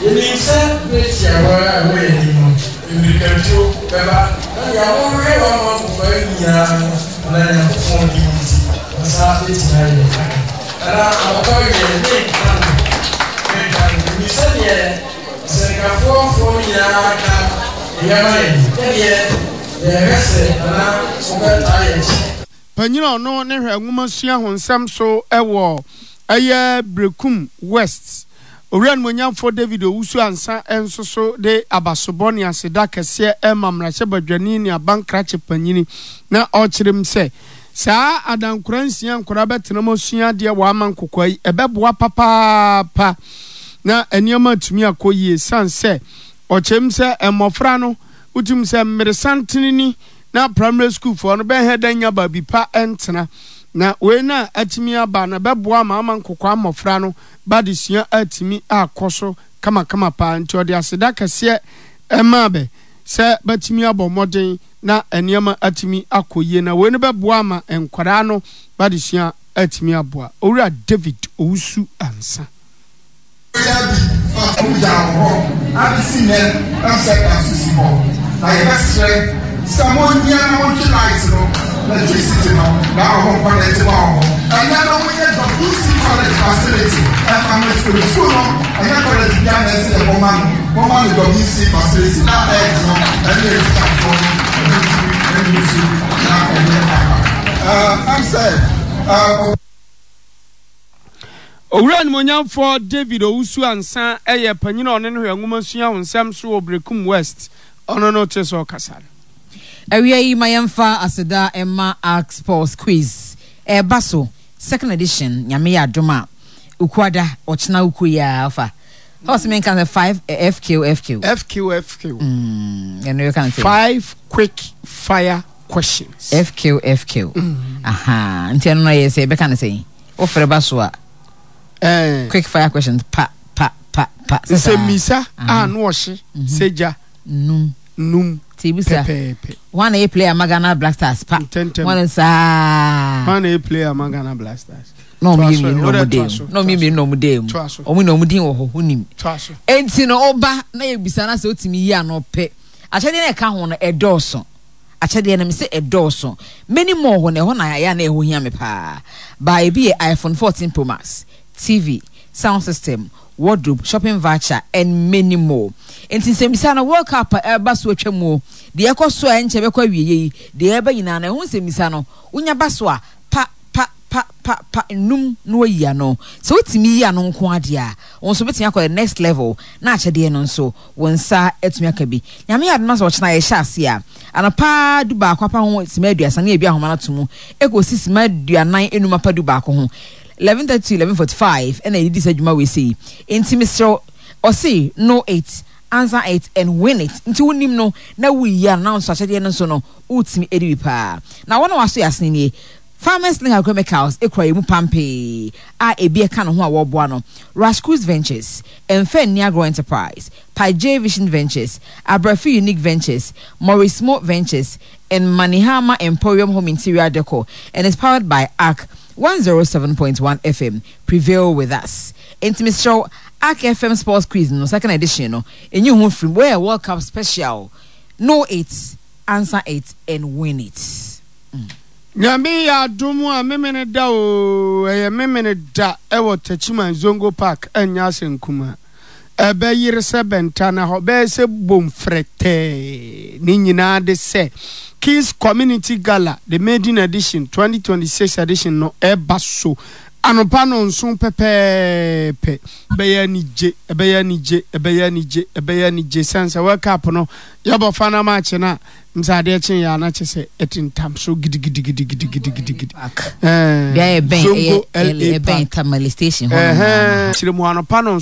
Yenim sɛ bere tiawa a ɛwɔ yɛn anim no, mmirikatuo bɛba, na nea wɔhwehwɛ wɔ ama nkokoaa nyinaa no, anaa Nyankopɔn din nti, wɔn nsa betumi ayɛ dɛn aka. Anaa anɔpa awiei, menka no, menka no. Menim sɛ deɛ asɛnkafoɔfoɔ no nyinaa ka no, ɛyɛ ma yɛn. Yɛdeɛ, yɛhwɛ sɛ Nana wobɛtaa yɛn akyi. Panyin a ɔno ne hwɛ nwomasua ho nsɛm so wɔ ɛyɛ Berekum West, Owura Animuonyamfoɔ David Owusu Ansah nso so de abasobɔ ne aseda kɛseɛ rema mmarahyɛbadwani ne aban krakye panyini na ɔrekyerɛ mu sɛ saa adankora nsia nkwadaa bɛtena mu asua adeɛ wɔ ama nkokoa yi ɛbɛboa papaapa na nneɛma atumi akɔ yie sane sɛ ɔkyerɛ mu sɛ mmɔfra no wotumi sɛ mmeresantene ni na primary school foɔ no bɛhɛ dɛ nya baabi pa ntena na wei na atumi aba na ɛbɛboa ama ama nkokoa mmɔfra no ba adesua atumi akɔ so kamakama paa nti ɔde aseda kɛseɛ maa bɛ sɛ bɛatumi abɔ mmɔden na nneɛma atumi akɔ yie na wei no bɛboa ama nkwadaa no ba adesua atumi aboa. Owura David Owusu Ansah. Bia bi fa ɔmo gyaa wɔ hɔ abesi nnɛ ɛsɛ da so si hɔ na yɛbɛsrɛ sɛ monhia na montwe light no electricity no na ɔmo nkɔ na ɛte ma ɔmo ɛnɛ no ɔmo nyɛ WC college facility ɛfa no sukuu sukuu no ɛnyɛ college bia na ɛsɛ yɛbɔ ma no moma no WC facility na ɛɛd no ɛne ɛtikyafoɔ no ɛno ntumi ɛne nsu na ɛnyɛ aba ɛɛ ɛm sɛ ɛɛ. Owura Animuonyamfoɔ David Owusu Ansah yɛ panyin a ɔne no hwɛ nwomasua ho nsɛm so wɔ Berekum West. Ɔno no te sɛ ɔkasa no. Awia yi ma yɛmfa aseda mma Ark Sports Quiz ɛreba so second edition Nyame yɛ adom a Ukuada ɔkyena Ukuo yi ara ɔfa Ɔsɛ menka sɛ 5 FQ FQ. FQ FQ. Ɛno yɛka no sɛ. 5 quick fire questions. FQ FQ. Aha nti ɛno no yɛ sɛ yɛbɛka no sɛ wofrɛ ba so a. Eh. Quick fire questions pa pa pa pa. Nsɛmmisa a ano ɔhye sɛ gya. Num. Num. Ti bisa. Pɛpɛɛpɛ. Hwan na yɛ player ma Ghana Black Stars pa. Ntɛntɛm. Hwan saa. Hwan na yɛ player ma Ghana Black Stars. Na wɔn yɛ mmienu na wɔn da mu. Na wɔn yɛ mmienu na wɔn da mu. Wɔn na wɔn din wɔ hɔ wonim. Enti no ɔba na yɛ bisa na sɛ otumi yi ano pɛ. Akyɛdeɛ na ɛka ho no ɛdɔɔso. Akyɛdeɛ no mese ɛdɔɔso. Many more hɔ no ɛhɔ na ɛyɛ a na ɛho hia me paa. Baa ebi yɛ iPhone 14 Pro Max, TV, sound system, wardrobe, shopping voucher and many more. Enti nsɛmmisa no World Cup a ɛreba so atwa mu o, deɛ ɛkɔ so a ɛnkyɛ bɛkɔ awieɛ yi, deɛ ɛreba nyinaa no ɛho nsɛmmisa no wonya ba so a pa pa pa pa pa nnum na wayi ano. Sɛ wotumi yi ano nko ara deɛ a, wo nso wobɛtumi akɔ the next level na akyɛdeɛ no nso wo nsa atumi aka bi. Nyame yɛ adom na sɛ ɔkyena yɛhyɛ aseɛ a, anɔpa dubaako apa ho sima aduasa ne yɛabue ahoma no ato mu kɔsi sima aduanan enum apa dubaako ho, 11:30 to 11:45 ɛna yɛde di saa dwuma wei sei. Enti mesrɛ wo, ɔse know it, answer it and win it. Nti wonim no na woyi ano na wo nso akyɛdeɛ no nso no wotumi di bi paa. Na wɔn a wɔaso yɛ asene nie, Farmers Link Agrochemicals kura yɛn mu pampee a ebi ɛka ne ho a wɔreboa no, Rascruz Ventures, Mfa Nni Agorɔ Enterprise, Pajay Vision Ventures, Abrafi Unique Ventures, Maurice Mo Ventures, and Manihama Emporium Home Interior Decor, and is powered by Ark 107.1 FM. Prevail with us. Enti mesrɛ wo, Ark FM Sports Quiz no second edition no, nyi wo ho mfiri mu. Wei yɛ World Cup special. Know it, answer it, and win it. Nyame yɛ adom a memene da oo ɛyɛ memene da ɛwɔ Techiman Zongo Park ɛnyɛ asɛm kumaa ɛbɛ yere sɛ bɛnta na hɔ bɛyɛ sɛ bom frɛtɛɛ ne nyinaa de sɛ Kiss Community Gala the maiden edition 2026 edition no ɛba so anɔpa nɔnson pɛpɛɛpɛ ɛbɛyɛ anigye ɛbɛyɛ anigye ɛbɛyɛ anigye ɛbɛyɛ anigye sɛn sɛ World Cup no yɛbɔ final match no a M sɛ adeɛ kye yɛ a na kyɛ sɛ ɛtentam so gidigidigidigidigidi. Beaeɛ bɛn Zongo ɛyɛ LA ɛbɛn Park. Tamale station hɔ nom Ɛhɛn. Kyerɛ mu anɔpa no nso.